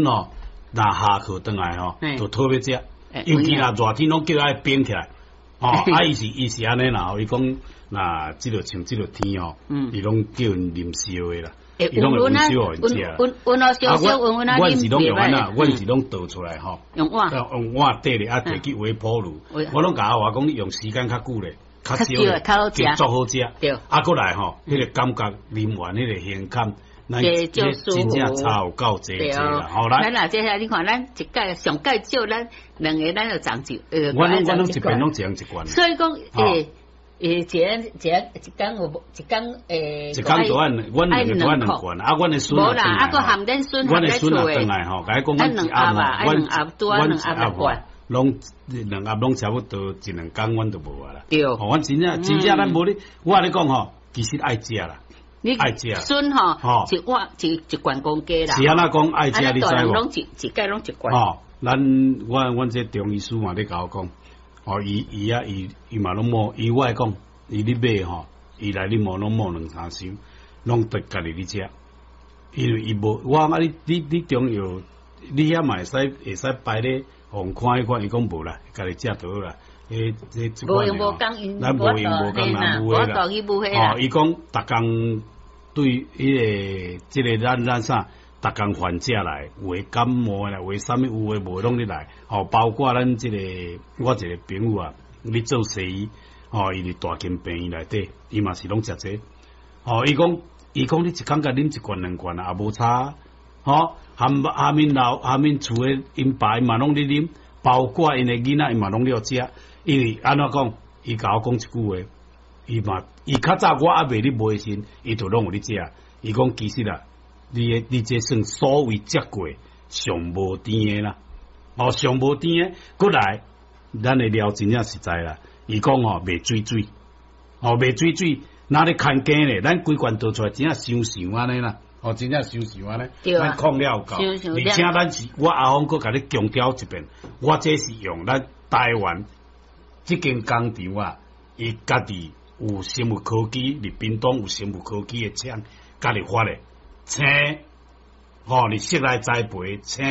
陣吼，若下課轉來吼，就討欲食，尤其若熱天攏叫愛冰起來。哦，啊，伊是按呢啦，伊講若這个像這个天吼，伊攏叫𪜶啉燒的啦，伊攏會溫燒予𪜶食。溫溫溫燒燒溫溫啊，阮是攏用按怎，阮是攏倒出來吼，用碗，用碗底咧，啊，提去微波爐。我攏共阿華講，你用時間較久咧，較少咧，就足好食。啊，閣來吼，彼個感覺啉完彼個胸坎。咱真正差有夠濟濟啦，好來。咱若這下你看，咱一屆上屆少，咱兩个咱就長一，阮攏一邊攏一人一罐。所以講，一人一人一工有無一工一工就按阮兩个就按兩罐，啊，阮的孫無啦，啊，閣含恁孫阮的孫也轉來吼，共伊講阮一盒吼，阮阮一盒吼，攏兩盒攏差不多一兩工，阮就無啊啦。吼，阮真正真正咱無咧，我共你講吼，其實愛食啦。你愛食筍吼，一碗一一罐公雞啦。是按怎講愛食？你知無？攏一一擺攏一罐。吼，咱我阮這中醫師嘛咧共我講，哦，伊伊啊伊伊嘛攏摸，伊我會講，伊咧買吼，伊來咧摸攏摸兩三箱，攏得家己咧食。因為伊無，我講啊，你你你中藥，你遐嘛會使會使擺咧，予人看一看，伊講無啦，家己食就好啦。彼這無閒無工，咱無閒無工啦，無啦。哦，伊講逐工。對彼个這个咱咱啥，逐工患者來，有的感冒啦，有的啥物有的無的攏咧來，吼，包括咱這个我一个朋友啊，咧做西醫，吼，伊佇大興病院內底，伊嘛是攏食這個，吼，伊講伊講你一工共啉一罐兩罐啊，也無差，吼，含含𪜶老含𪜶厝的𪜶爸嘛攏咧啉，包括𪜶的囡仔伊嘛攏咧食，因為按怎講，伊共我講一句話。伊嘛，伊較早我猶未咧買時，伊就攏有咧食。伊講其實啊，你的你這算所謂食過上無甜的啦，哦，上無甜的。閣來，咱的料真正實在啦。伊講吼袂水水，哦袂水水，若咧牽羹咧，咱規罐倒出來真正香香按呢啦，哦真正香香按呢，咱控了有夠。而且咱是，我阿峰閣共你強調一遍，我這是用咱台灣這間工廠啊，伊家己。有生物科技，佇屏東有生物科技的廠，家己發的青，吼，佇室內栽培青，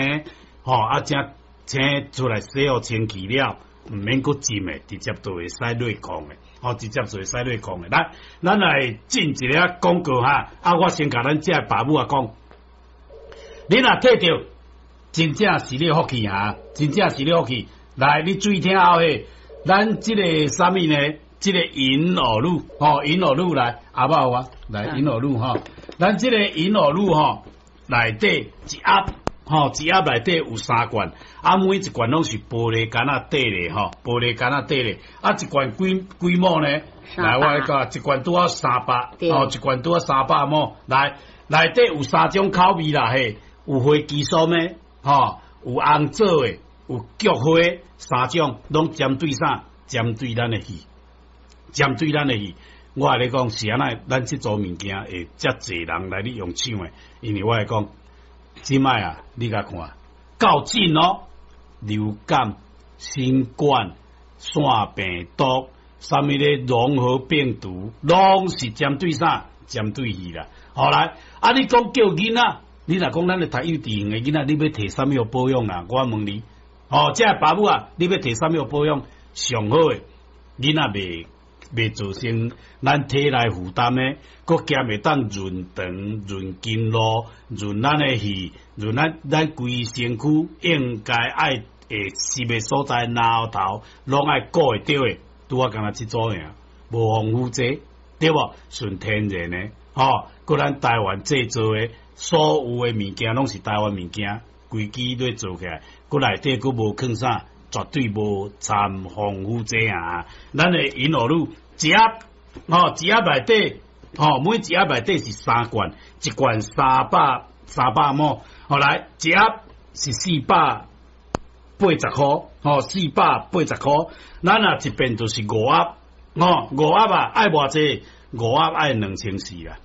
吼，啊，這青出來洗予清氣了，毋免閣浸的，直接就會使內囥的，吼，直接就會使內囥的。來，咱來進一个廣告哈，啊，我先共咱這个爸母仔講，你若摕著真正是你福氣哈，真正是你福氣。來，你注意聽後下，咱這个啥物呢？這個銀耳露，吼，銀耳露來，阿爸有啊，來銀耳露吼，咱這個銀耳露吼，內底一盒，吼，一盒內底有三罐，啊，每一罐攏是玻璃罐仔底咧，吼，玻璃罐仔底咧，啊，一罐幾幾毛呢？來，我來講，一罐拄好三百，吼，一罐拄好三百毛，來，內底有三種口味啦，嘿，有花旗參的，吼，有紅棗的，有菊花，三種，攏針對啥？針對咱的氣。針對咱的去，我共你講是按怎，咱這組物件會遮濟人來咧用搶的，因為我會講，這擺啊，你共看，較真哦，流感、新冠、腺病毒，啥物咧融合病毒，攏是針對啥？針對去啦。好來，啊，你講叫囡仔，你若講咱咧讀幼稚園的囡仔，你欲提啥物予保養啊？我問你，哦，這个爸母啊，你欲提啥物予保養？上好的囡仔袂。袂造成咱體內負擔的，閣兼會當潤腸、潤筋路、潤咱的氣、潤咱咱規身軀應該愛會濕的所在，腦頭攏愛顧會著的，拄仔干焦這組爾，無防腐劑，對無？純天然的，吼，閣咱台灣製造的所有的物件攏是台灣物件，規支咧做起來，閣內底閣無囥啥。絕對無摻防腐劑啊！咱的銀耳露一盒，吼，一盒內底，吼，每一盒內底是三罐，一罐三百毛，後來一盒是480箍，吼，四百八十箍。咱若一遍就是五盒，吼，五盒啊，愛偌濟？五盒愛2400啦。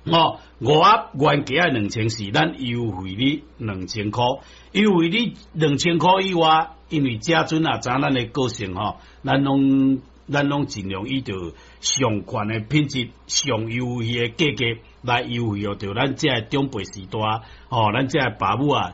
哦，五盒原價愛兩千四，咱優惠你兩千箍，優惠你兩千箍以外，因為這陣啊，知咱的個性吼，咱攏咱攏盡量以著上懸的品質、上優惠的價格來優惠予著咱遮的長輩序大，吼，咱遮的爸母啊。